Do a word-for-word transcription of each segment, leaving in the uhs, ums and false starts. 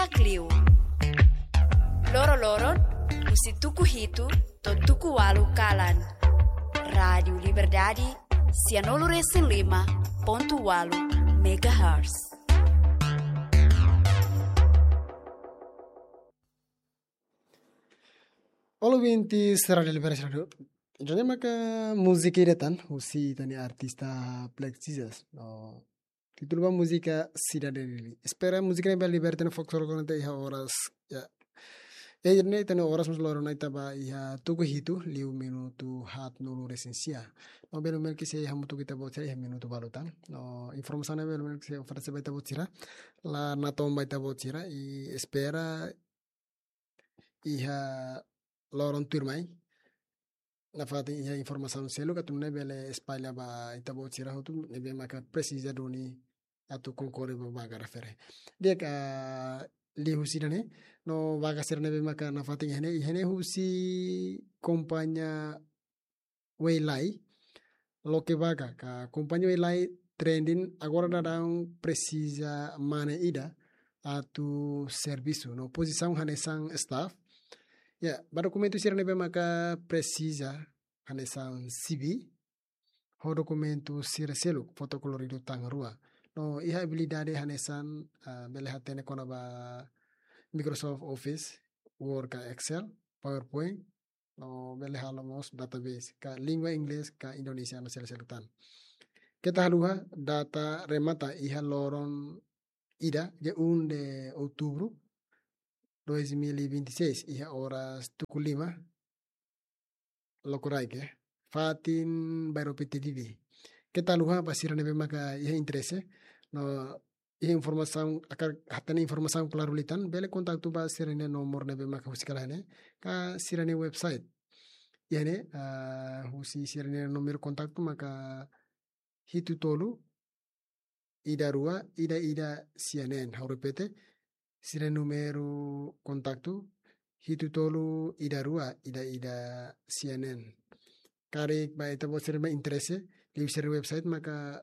Liu. Loro-loron, husi tuku hitu to'o tuku ualu kalan. Rádiu Liberdade, sianulu resin lima pontu ualu megahertz. Olá, ouvintes Rádiu Liberdade. Ida-ne'e maka múzika ida tan, husi ita-nia artista Plexisas. No, títulu ba múzika Sidade Dili. Espera múzika ne'e bele liberta no fokus logo na iha oras, ya. E ida-ne'e ita-nia oras mós loron ne'e ita ba iha tuku hitu, liu minutu haatnulu resin sia. No, bele mel ke se hamutuk ita-boot sira iha minutu balu tan. No, informasaun ne'e bele mel ke se oferese ba ita-boot sira. La natoon ba ita-boot sira, i espera iha loron tuirmai. Nafatin iha informasaun seluk atu nune'e bele espalla ba ita-boot sira hotu ne'ebé maka presiza duni atu konkore ba vaga refere. Di'ak, liuhusi ida-ne'e, no vaga sira ne'ebé maka nafatin iha ne'e, iha ne'e husi kompañia Weilai, loke vaga, ka kompañia Weilai trending agora daudaun presiza mane ida atu servisu, no pozisaun hanesan staff. Ya, ba dokumentu sira ne'ebé maka presiza hanesan C V, ho dokumentu sira seluk, foto koloridu tan rua. No, iha abilidade hanesan, ah, bele hatene kona-ba Microsoft Office, Word ka Excel, PowerPoint, no bele halo mós database, ka língua Inglés ka Indonesianu sira seluk tan. Keta haluha, data remata iha loron ida, dia um de outubro dois mil e vinte e seis, iha oras tuku lima, lokorai ke, fatin bairru P T D D. Keta haluha ba sira ne'ebé maka iha interese, no iha informasaun, hakarak hatene informasaun klaru liután, bele kontaktu ba sira-nia nomor ne'ebé maka husi kala ne'e, ka sira-nia website. Iha ne'e, ah, husi sira-nia númeru kontaktu maka hitu tolu, ida rua, ida ida sia neen. Ha'u repete, sira númeru kontaktu, hitu tolu, ida rua, ida ida sia neen. Karik ba ita-boot sira mak interese, liu sira website maka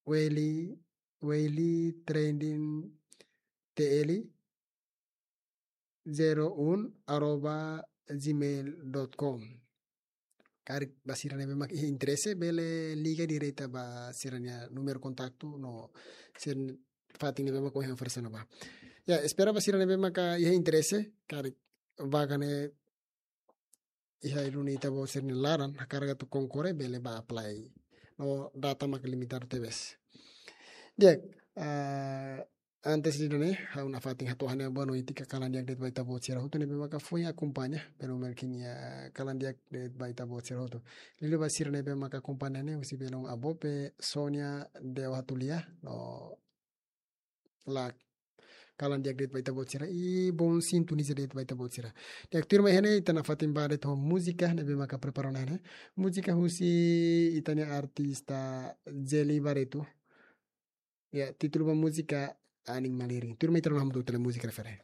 Weili, Weili Trending T L zero um arroba gmail dot com. Karik ba sira ne'ebé mak iha interese, bele liga direta ba sira-nia númeru kontaktu no sira fatin ne'ebé mak ohin oferese ona ba. Ya, espera ba sira ne'ebé maka iha interese, karik vaga ne'e iha duni ita-boot sira-nia laran, hakarak atu konkore bele ba apply. No data mak limitadu tebes. Di'ak, ah, antes de ida-ne'e, ha'u nafatin hato'o ha'u-nia boa noite ka kalan di'ak de'it ba ita-boot sira hotu ne'ebé maka foin akompaña, bele mel ke nia kalan di'ak de'it ba ita-boot sira hotu. Liuliu ba sira ne'ebé maka akompaña ne'e, husi belun Abope, Sonia, Deo Hatulia, no Lak. Kalan di'ak de'it ba ita-boot sira, i bom sintoniza de'it ba ita-boot sira. Di'ak, tuirmai iha ne'e, ita nafatin ba de'it ho múzika ne'ebé maka prepara ona ne'e. Múzika husi ita-nia artista Zeli Barreto. Ya, títulu ba múzika Anin Malirin. Tuirmai ita rona hamutuk ho múzika refere.